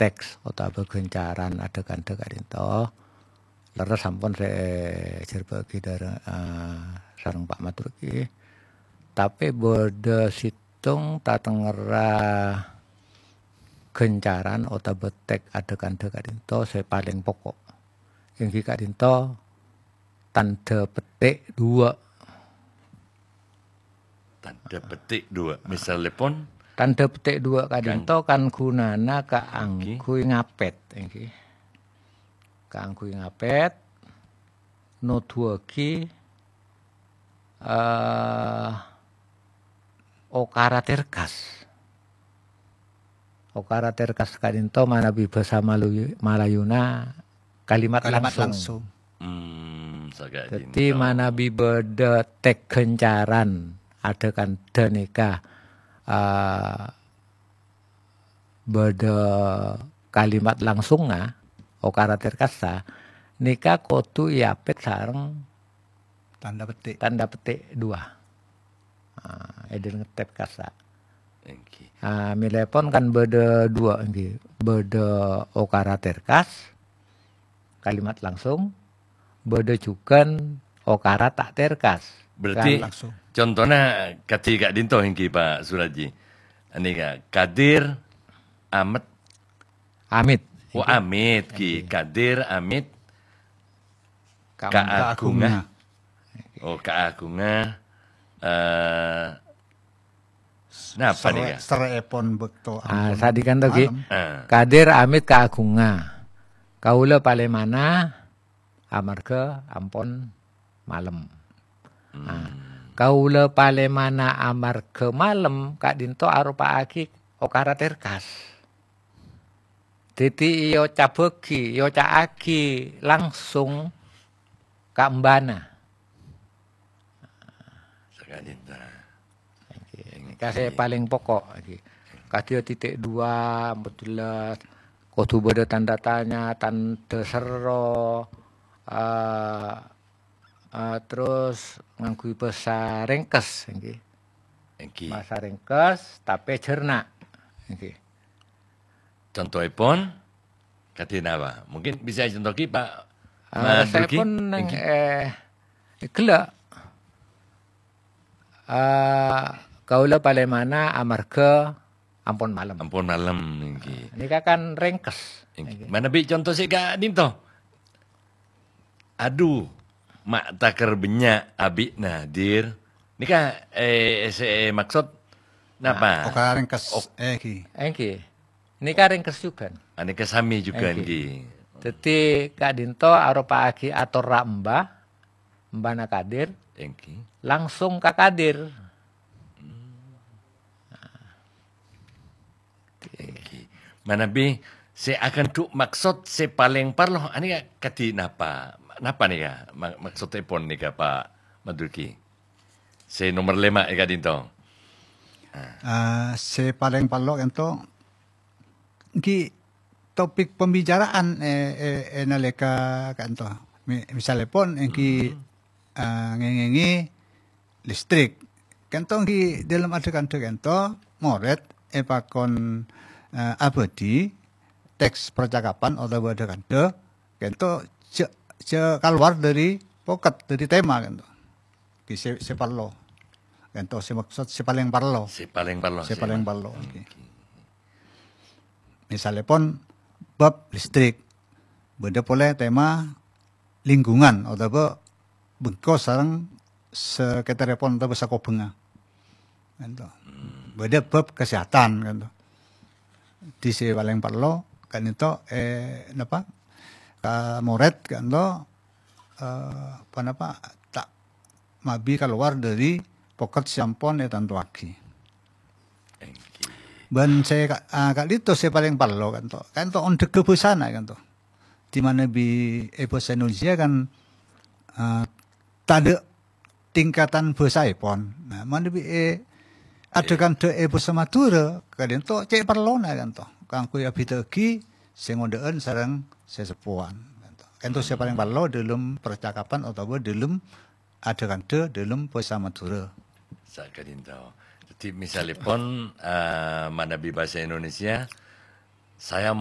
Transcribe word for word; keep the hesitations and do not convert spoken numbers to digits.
teks otabâ ghâncaran adhâ-kandhâ ka'dinto. Lerres sampon sè èjhârbâ'âghi dârâ-, eh, sareng Pa' Matur ghi. Tapè bâdâ sèttong tatengngerra ghâncaran otabâ teks adhâ-kandhâ ka'dinto sè palèng poko'. Èngghi ka'dinto tandhâ petik dua. Tandhâ petik dua. Misalèpon? Tandhâ petik dua ka'dinto kan ghunana kaangghuy ngapèt, èngghi. Kaangghuy ngapèt, noduwâghi, eh, okara terkas. Okara terkas ka'dinto manabi bhâsa Maluy-, Malayuna kalimat Kalimat langsung. langsung. Hmm, Dhâddhi manabi bâdâ teks ghâncaran adhâ-kandhâ nèka, eh, bâdâ kalimat langsungnga, okara terkassa, nèka kodhu èapèt sareng Tandhâ petik. tandhâ petik dua. Ah, èdhil ngetèp kassa. Èngghi. Ah, mèlèpon kan bâdâ dua, èngghi. Bâdâ okara terkas, kalimat langsung, bâdâ jhughân okara ta' terkas. Berarti Kan langsung. Contohnya kadhi ka'dinto èngghi, Pa' Suraji. Nèka, Kadir, Amet, Amit. Oh, Èngghi. Amit, ghi. Èngghi. Kadir, Amit, Ka- Kaagunga. Kaagunga. Oh, Kaagunga. Eh, napa Sere-, nèka? Serè'èpon bâkto Ah, ampon sadhikan to, ghi. malem. Ah. Kadir Amit Kaagunga. Kaulâ palèmana amarghâ ampon malem. Nah, Hmm. kaulâ palèmana amarghâ malem ka'dinto aropa'aghi okara terkas. Dhâddhi èocabhâghi, èoca'aghi langsung ka embana. Saka'dinto. Èngghi. Nèka sè palèng poko', èngghi. Kadhi titik dua, empat belas, kodhu bâdâ tandhâ tanya, tandhâ sero, eh, eh, terros ngangghuy bhâsa rèngkes, èngghi. Èngghi. Bhâsa rèngkes, tapè jhârna. Èngghi. Contohèpon, kadhi napa? Mungkin bisa ècontohaghi, Pa' Ah, Madurgi? Saèpon neng, Èngghi. eh, ghellâ'. Ah, kaulâ palèmana amarghâ ampon malem. Ampon malem, èngghi. Nèka kan rèngkes. Èngghi. Èngghi. Manabi contoh sè ka'dinto? Adu, ma' takèr bânnya' abi'na, Dir. Nèka, eh, sè maksod napa? Okara rèngkes, Ok. èngghi. Èngghi. Nèka rèngkes jhughân. Ah, nèka samè jhughân, Èngghi. èngghi. Dhâddhi, ka'dinto aropa'aghi atorra emba, embana Kadir, Èngghi. langsung ka Kadir. Èngghi. Manabi sè aghândhu' maksod sè palèng parlo, anèka kadhi napa? Napa nèka ma-, maksoddhèpon nèka, Pa' Madurgi? Sè nomer lèma' è ka'dinto. Ah, sè palèng parlo ka'dinto, èngghi topik pembicaraan, eh, eh, eh, nalèka ka'dinto. Mi-, misalèpon èngghi, Hmm. ah, ngèngèngè listrik. Ka'dinto èngghi dâlem adhâ-kandhâ ka'dinto, morèd èpakon, eh, abâdhi teks percakapan otabâ adhâ-kandhâ, ka'dinto jhâ', jhâ' kalowar dâri poket, dâri tema ka'dinto. Ghi sè, sè parlo. Ka'dinto sè maksod sè palèng parlo. Sè palèng parlo, Sè sè palèng ma-, parlo, oke. oke. Misalèpon bab listrik, bâdâ polè tema lingkungan otabâ bengko sareng sakètarèpon otabâ sakobhângnga. Ka'dinto. Hmm. Bâdâ bab kesehatan, ka'dinto. Dhi sè palèng parlo, ka'dinto, eh, napa? Ka morèd, ka'dinto, eh, apa napa? Ta' mabi kalowar dâri poket sè ampon ètantowaghi. Èngghi. Bân sè ka-, ah, ka'dinto sè palèng parlo, ka'dinto. Ka'dinto ondhâghâ bhâsana, ka'dinto. Di mana bi-, è bhâsa Indonesia kan, eh, tadâ' tingkatan bhâsaèpon. Nah, manabi è adhâ-kandhâ è bhâsa Madhurâ, ka'dinto cè' parlona ka'dinto. Kaangghuy abhidhâ'aghi sè ngodâ'ân sareng sè seppowan ka'dinto. Ka'dinto sè palèng parlo dâlem percakapan otabâ dâlem adhâ-kandhâ dâlem bhâsa Madhurâ. Saka'dinto. Dhâddhi, misalèpon, eh, manabi bhâsa Indonesia, saya